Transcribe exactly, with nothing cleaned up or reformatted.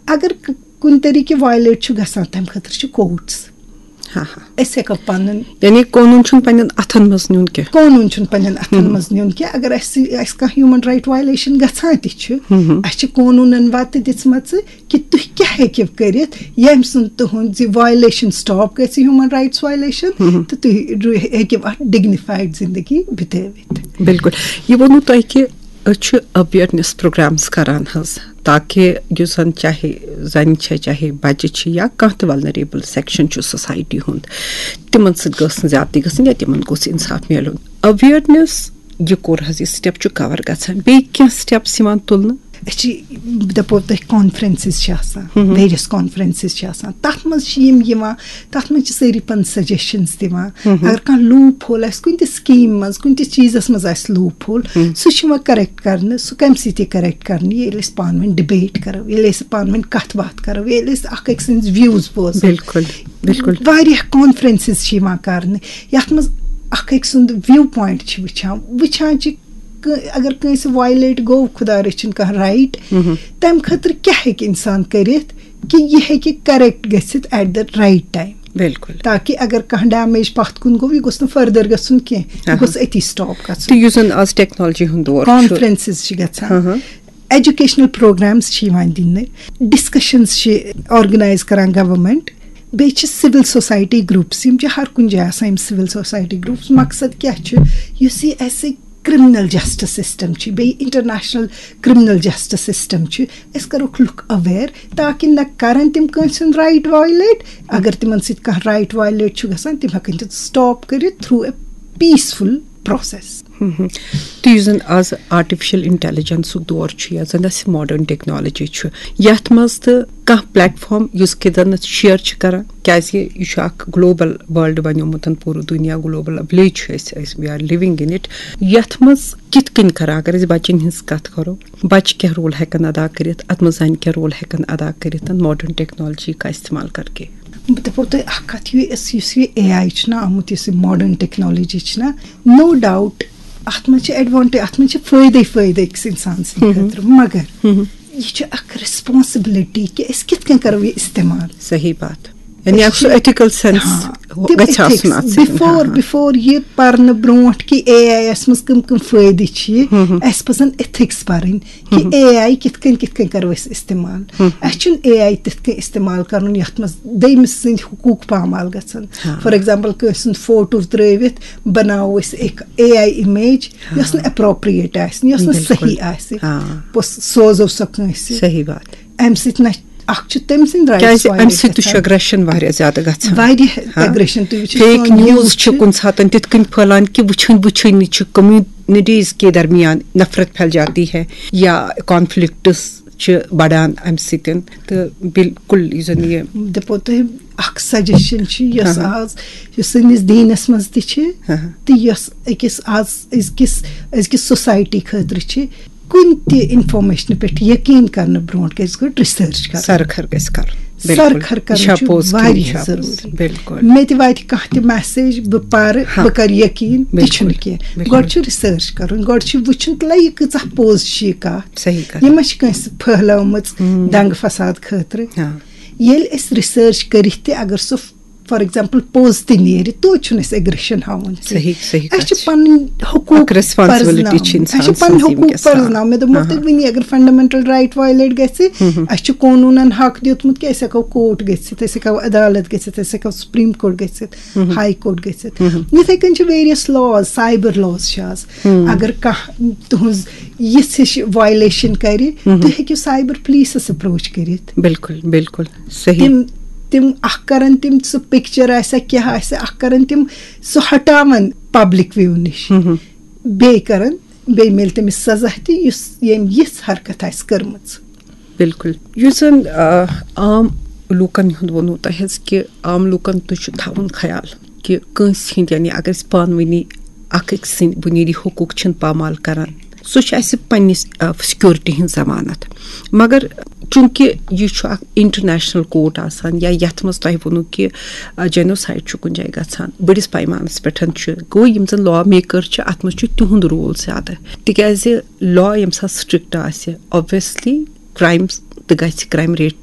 اگر ک- کُنہِ طریٖقہٕ وایلیٹ چھُ گژھان، تَمہِ خٲطرٕ چھِ کوٹس۔ ہاں ہاں۔ أسۍ ہٮ۪کو پَنُن یعنی قونوٗن چھُنہٕ پننٮ۪ن اَتھن منٛز نیُن کینٛہہ۔ قونوٗن چھُنہٕ پننٮ۪ن اَتھن منٛز نیُن کینٛہہ۔ اگر اَسہِ اَسہِ کانٛہہ ہیوٗمن رایٹ وایلیشن گژھان تہِ چھُ، اَسہِ چھِ قونوٗنن وَتہٕ دِژمَژٕ کہِ تُہۍ کیٛاہ ہیٚکِو کٔرِتھ، ییٚمہِ سۭتۍ تُہُنٛد زِ وایلیشن سٹاپ گژھِ، ہیوٗمن رایٹس وایلیشن، تہٕ تُہۍ رو- ہیٚکِو اَتھ ڈگنیفایڈ زندگی بِتٲوِتھ۔ بِلکُل۔ یہِ ووٚنوٕ تۄہہِ کہِ أسۍ چھِ اویرنیس پروگرامز کران حظ، تاکہِ یُس زن چاہے زنہِ چھےٚ، چاہے بچہِ چھِ، یا کانٛہہ تہِ ولنریبل سیکشن چھُ سوسایٹی ہُنٛد، تِمن سۭتۍ گٔژھ نہٕ زیادتی گژھٕنۍ یا تِمن گوٚژھ انصاف میلُن۔ اویرنیس یہِ کوٚر حظ، یہِ سٹیپ چھُ کور گژھان، بیٚیہِ کینٛہہ سٹیپس یِوان تُلنہٕ؟ أسۍ چھِ، بہٕ دَپو تۄہہِ، کانفرنسز چھِ آسان، ویریس کانفرنسز چھِ آسان، تَتھ منٛز چھِ یِم یِوان، تَتھ منٛز چھِ سٲری پَنٕنۍ سجیشنز دِوان۔ اگر کانٛہہ لوٗپ ہول آسہِ کُنہِ تہِ سکیٖم منٛز، کُنہِ تہِ چیٖزَس منٛز آسہِ لوٗپ ہول، سُہ چھُ یِوان کریکٹ کرنہٕ۔ سُہ کَمہِ سۭتۍ یہِ کریکٹ کرنہٕ؟ ییٚلہِ أسۍ پانہٕ ؤنۍ ڈِبیٹ کرو، ییٚلہِ أسۍ پانہٕ ؤنۍ کَتھ باتھ کرو، ییٚلہِ أسۍ اکھ أکۍ سٕنٛز ویوز بوزو۔ بِلکُل، بِلکُل۔ واریاہ کانفرنسز چھِ یِوان کرنہٕ، یَتھ منٛز اکھ أکۍ سُنٛد وِو پوینٹ چھِ وٕچھان، وٕچھان چھِ ک- اگر کٲنٛسہِ وایلیٹ گوٚو، خدا رٔچھِن، کانٛہہ رایٹ، تَمہِ خٲطرٕ کیٛاہ ہیٚکہِ اِنسان کٔرِتھ کہِ یہِ ہیٚکہِ کریکٹ گٔژھِتھ at the right time، بِلکُل۔ تاکہِ اگر کانٛہہ ڈیمیج پَتھ کُن گوٚو، یہِ گوٚژھ نہٕ فردر گژھُن کینٛہہ، یہِ اہا۔ گوٚژھ أتی سٹاپ گژھُن۔ تہٕ یُس زن آز ٹیکنالوجی ہُنٛد دور چھُ۔ کانفرنسز چھِ گژھان، اہا۔ ایجوکیشنل پروگرامز چھِ یِوان دِنہٕ، ڈسکشنز چھِ آرگنائز کران گورنمنٹ، بیٚیہِ چھِ سول سوسایٹی گروپس، یِم چھِ ہر کُنہِ جایہِ آسان، یِم سول سوسایٹی گروپس۔ مقصد کیٛاہ چھُ؟ یُس یہِ اَسہِ کرمنل جسٹس سسٹم چھُ، بیٚیہِ انٹرنیشنل کرمنل جسٹس سسٹم چھُ، أسۍ کَرُکھ لُکھ اویئر، تاکہِ نہ کَرَن تِم کٲنٛسہِ ہُنٛد رائٹ وایلیٹ۔ اگر تِمن سۭتۍ کانٛہہ رائٹ وایلیٹ چھُ گژھان، تِم ہٮ۪کَن تِم سٹاپ کٔرِتھ through a peaceful process۔ تہٕ یُس زن آز آرٹیفیشل انٹیلیجنسُک دور چھُ، یا زن اسہِ ماڈرن ٹیکنالوجی چھُ، یتھ منٛز تہٕ کانٛہہ پلیٹ فارم یُس کہِ زن أسۍ شیئر چھِ کران، کیازِ یہِ چھُ اکھ گلوبل ورلڈ بنیومُت، پوٗرٕ دُنیا، گلوبل ولیج چھُ أسۍ، أسۍ we are living in it۔ یتھ منٛز کِتھ کٔنۍ کرو، اگر أسۍ بچن ہٕنٛز کتھ کرو، بچہِ کیٛاہ رول ہٮ۪کن ادا کٔرِتھ، اتھ منٛز زنہِ کیٛاہ رول ہٮ۪کن ادا کٔرِتھ ماڈرن ٹیکنالوجی کا استعمال کرکے؟ بہٕ دَپو تۄہہِ اَکھ کَتھ، یہِ أسۍ، یُس یہِ اے آئی چھُنہ آمُت، یُس یہِ ماڈرن ٹیکنالوجی چھِنہ، نو ڈاؤٹ اَتھ منٛز چھِ ایڈوانٹیج، اَتھ منٛز چھِ فٲیدَے فٲیدٕ أکِس اِنسان سٕنٛدِ خٲطرٕ، مگر یہِ چھِ اَکھ ریسپانسبلٹی کہِ أسۍ کِتھ کٔنۍ کَرو یہِ استعمال۔ صحیح بات۔ یعنی اکھ سُہ ایتھیکل سینس ہاں، تِم گژھِ آسُن ایتھکس۔ اَتھ سۭتۍ۔ بِفور ہاں۔ بِفور یہِ پَرنہٕ برونٛٹھ کہِ اے آئی یَس منٛز کٕم کٕم فٲیدٕ چھِ، اَسہِ پَزَن ایتھکس پَرٕنۍ کہِ اے آئی کِتھ کٔنۍ کِتھ کٔنۍ کَرو أسۍ استعمال۔ اَسہِ چھُنہٕ اے آئی تِتھ کٔنۍ استعمال کَرُن یَتھ منٛز دٔیمِس سٕنٛدۍ حقوٗق پامال گژھن۔ ہاں۔ فار ایگزامپل، کٲنٛسہِ ہُنٛد فوٹو ترٲوِتھ بَناوو أسۍ اکھ اے آئی اِمیج یۄس نہٕ اپروپریٹ آسہِ، یۄس نہٕ بِلکُل۔ صحیح آسہِ، ہاں۔ پوٚس سوزو سۄ کٲنٛسہِ۔ صحیح بات۔ اَمہِ سۭتۍ نہ، اکھ چھُ تٔمۍ سٕنٛدۍ رائٹس کیازِ وایلیٹ امہِ سۭتۍ تہِ چھُ گژھان۔ اگریشن واریاہ زیادٕ گژھان۔ واریاہ ہاں۔ اگریشن، تُہۍ وٕچھِو، فیک سون نیوز نیوز چھِ چھِ۔ کُنہِ ساتہٕ تِتھ کٔنۍ پھٔہلان کہِ وٕچھِنۍ وٕچھِنۍ چھِ کمیونٹیز کے درمیان نفرت پھیل جاتی ہے یا کانفلکٹس چھِ بڑان امہِ سۭتۍ۔ تہٕ بالکل یُس زن یہِ دَپو تۄہہِ، اکھ سجیشن چھِ، یۄس ہاں۔ آز، یۄس سٲنِس دیٖنس منٛز تہِ چھِ، ہاں۔ تہٕ یۄس أکِس آز أزکِس أزکِس سوسایٹی خٲطرٕ چھِ، کُنہِ تہِ انفارمیشنہٕ پٮ۪ٹھ یقین کرنہٕ برونٛٹھ گژھِ گۄڈٕ ریسرچ کرٕنۍ۔ سرخر گژھِ کرُن۔ سرخر کرُن چھُ واریاہ ضروٗری۔ بالکل۔ مےٚ تہِ واتہِ کانٛہہ تہِ میسیج، بہٕ پرٕ، ہاں۔ بہٕ کرٕ یقین، تہِ بالکل، چھُنہٕ کینٛہہ۔ بالکل۔ گۄڈٕ چھُ ریسرچ کرُن، گۄڈٕ چھُ وٕچھُن تہٕ یہِ کۭژاہ پوٚز چھِ یہِ کَتھ۔ صحیح کَتھ۔ یہِ ما چھِ کٲنٛسہِ پھٔہلٲومٕژ دنٛگہٕ فساد خٲطرٕ؟ ہاں۔ ییٚلہِ أسۍ ریسرچ کٔرِتھ تہِ اگر سُہ، فار ایگزامپل، پوٚز تہِ نیرِ، توتہِ چھُنہٕ اَسہِ اگریشن ہاوُن کینٛہہ۔ صحیح، صحیح اَسہِ چھِ کَتھ چھِ۔ پنٕنۍ حقوٗق اکھ ریسپانسبلٹی پرزناوٕنۍ۔ چھِ اِنسان اَسہِ چھِ پنٕنۍ سٕنٛز حقوٗق وٕنکیٚس۔ ہاں۔ پرزناوٕنۍ۔ مےٚ دوٚپمو ہاں۔ تۄہہِ وٕنی، اگر فنڈامنٹل رائٹ وایلیٹ گژھِ، اَسہِ چھِ قونوٗنن حق دیُتمُت کہِ أسۍ ہٮ۪کو کورٹ گٔژھِتھ، أسۍ ہٮ۪کو عدالت گٔژھِتھ، أسۍ ہٮ۪کو سپریم کورٹ گٔژھِتھ، ہاے کورٹ گٔژھِتھ۔ یِتھے کٔنۍ چھِ ویریس لاز، سایبر لاز چھِ آز۔ اگر کانٛہہ تُہنٛز یِژھ ہِش وایلیشن کرِ، تُہۍ ہیٚکِو سایبر پولیسس اپروچ کٔرِتھ۔ بالکل، بالکل۔ صحیح۔ تِم تِم اکھ کرن، تِم سُہ پکچر آسہِ کیٛاہ آسہِ، اکھ کرن تِم سُہ ہٹاون پبلک وِو نِش۔ بیٚیہِ کرن، بیٚیہِ میلہِ تٔمِس سزا تہِ، یُس ییٚمۍ یِژھ حرکت آسہِ کٔرمٕژ۔ بالکل۔ یُس زن آ، عام لوٗکن ہُنٛد ووٚنوٕ تۄہہِ حظ کہِ عام لوٗکن تہِ چھُ تھاوُن خیال کہِ کٲنٛسہِ ہٕنٛدۍ، یعنی اگر أسۍ پانہٕ ؤنی اکھ أکۍ سٕنٛدۍ بُنیٲدی حقوٗق چھِنہٕ پامال کران، سُہ چھُ اَسہِ پننِس، آ، سیکورٹی ہٕنٛز ضمانت۔ مگر چوٗنٛکہِ یہِ چھُ اکھ انٹرنیشنل کورٹ آسان، یا یتھ منٛز تۄہہِ ووٚنوٕ کہِ، آ، جینوسایڈ چھُ کُنہِ جایہِ گژھان، بٔڑِس پیمانس پٮ۪ٹھ چھُ، گوٚو یِم زن لا میکر چھِ، اتھ منٛز چھُ تِہُنٛد رول زیادٕ، تِکیازِ لا ییٚمہِ ساتہٕ سٹرکٹ آسہِ، obviously کرائم تہِ گژھِ، کرائم ریٹ